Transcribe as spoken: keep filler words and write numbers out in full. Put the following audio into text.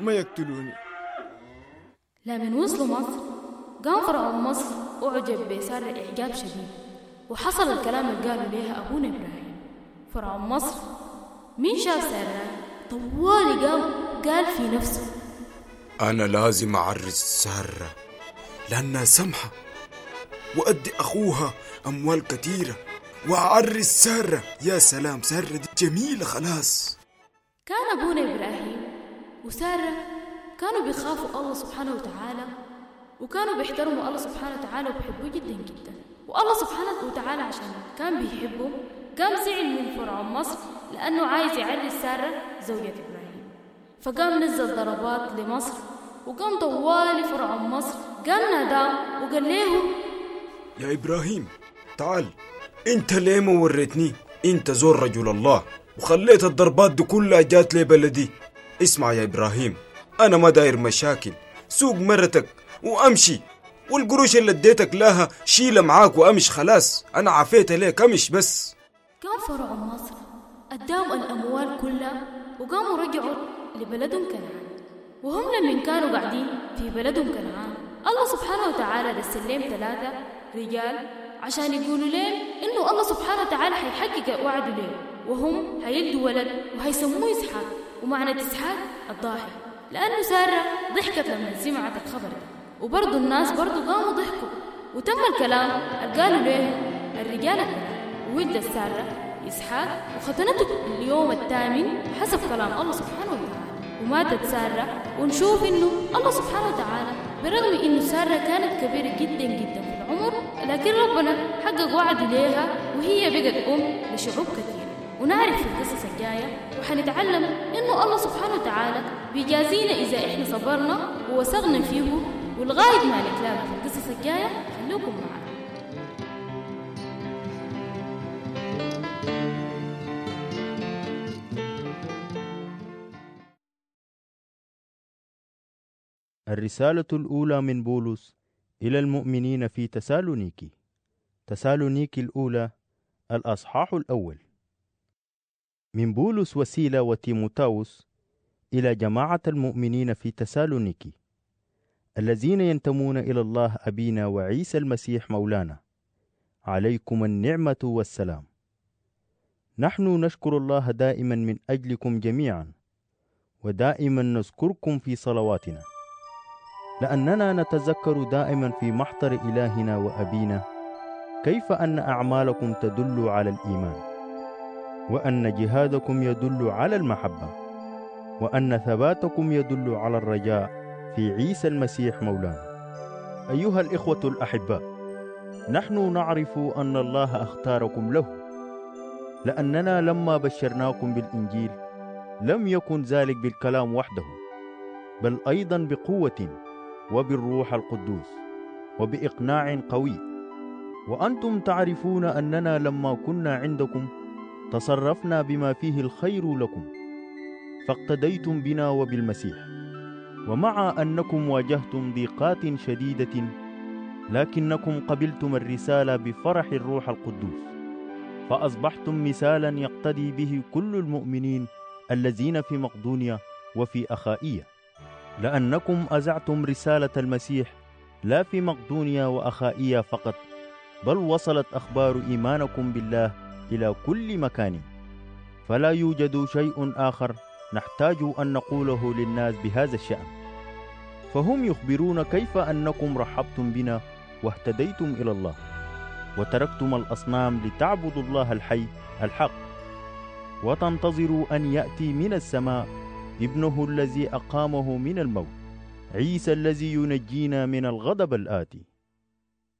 ما يقتلوني. لمن وصلوا مصر قام فرعون مصر أعجب بسارة إعجاب شديد، وحصل الكلام اللي قالوا ليها أبونا إبراهيم. فرعون مصر مين شاف سارة طوالي قام قال في نفسه: أنا لازم أعرس سارة لأنها سمحة، وأدي أخوها أموال كثيرة وأعرس سارة. يا سلام، سارة دي جميلة خلاص. كان أبونا إبراهيم وسارة كانوا بيخافوا الله سبحانه وتعالى، وكانوا بيحترموا الله سبحانه وتعالى وبيحبوه جدا جدا. والله سبحانه وتعالى عشان كان بيحبه قام زعل من فرعون مصر لأنه عايز يعرس سارة زوجة إبراهيم، فقام نزل ضربات لمصر، وقام طوالي فرعون مصر قام ناداه وقال له: يا إبراهيم تعال، انت ليه ما وريتني انت زور رجل الله وخليت الضربات دي كلها جات لبلدي؟ اسمع يا إبراهيم، أنا ما داير مشاكل، سوق مرتك وأمشي، والقروش اللي اديتك لها شيلة معاك وأمش، خلاص أنا عافيت ليك، أمش بس. قام فرعون مصر أداهم الأموال كلها وقاموا رجعوا لبلدهم كنعان. وهم لمن كانوا قاعدين في بلدهم كنعان الله سبحانه وتعالى رسل لهم ثلاثة رجال عشان يقولوا لهم إنه الله سبحانه وتعالى حيحقق وعده لهم، وهم هيلدوا ولد وهيسموه إسحاق، ومعنى إسحاق الضاحك، لأنه سارة ضحكت لما سمعت الخبر ده، وبرضو الناس برضو قاموا ضحكوا. وتم الكلام اللي قالوا لهم الرجال الثلاثة، وولدت سارة إسحاق وختنته اليوم الثامن حسب كلام الله سبحانه وتعالى، وماتت سارة. ونشوف إنه الله سبحانه وتعالى برغم إنه سارة كانت كبيرة جدا جدا في العمر، لكن ربنا حقق وعده ليها وهي بقت أم لشعوب كثيرة. ونعرف في القصص الجاية وحنتعلم إنه الله سبحانه وتعالى بيجازينا إذا إحنا صبرنا ووثقنا فيه. ولغاية ما نتلاقى في القصص الجاية خلوكم معنا. الرسالة الأولى من بولس إلى المؤمنين في تسالونيكي. تسالونيكي الأولى الأصحاح الأول. من بولس وسيلة وتيموتاوس إلى جماعة المؤمنين في تسالونيكي الذين ينتمون إلى الله أبينا وعيسى المسيح مولانا، عليكم النعمة والسلام. نحن نشكر الله دائما من أجلكم جميعا، ودائما نذكركم في صلواتنا، لأننا نتذكر دائما في محضر إلهنا وأبينا كيف أن أعمالكم تدل على الإيمان، وأن جهادكم يدل على المحبة، وأن ثباتكم يدل على الرجاء في عيسى المسيح مولانا. أيها الإخوة الأحباء، نحن نعرف أن الله أختاركم له، لأننا لما بشرناكم بالإنجيل لم يكن ذلك بالكلام وحده، بل أيضا بقوة وبالروح القدوس وبإقناع قوي. وأنتم تعرفون أننا لما كنا عندكم تصرفنا بما فيه الخير لكم، فاقتديتم بنا وبالمسيح. ومع أنكم واجهتم ضيقات شديدة، لكنكم قبلتم الرسالة بفرح الروح القدوس، فأصبحتم مثالا يقتدي به كل المؤمنين الذين في مقدونيا وفي أخائية، لأنكم أذعتم رسالة المسيح لا في مقدونيا وأخائية فقط، بل وصلت أخبار إيمانكم بالله إلى كل مكان. فلا يوجد شيء آخر نحتاج أن نقوله للناس بهذا الشأن، فهم يخبرون كيف أنكم رحبتم بنا واهتديتم إلى الله، وتركتم الأصنام لتعبدوا الله الحي الحق، وتنتظروا أن يأتي من السماء ابنه الذي أقامه من الموت، عيسى الذي ينجينا من الغضب الآتي.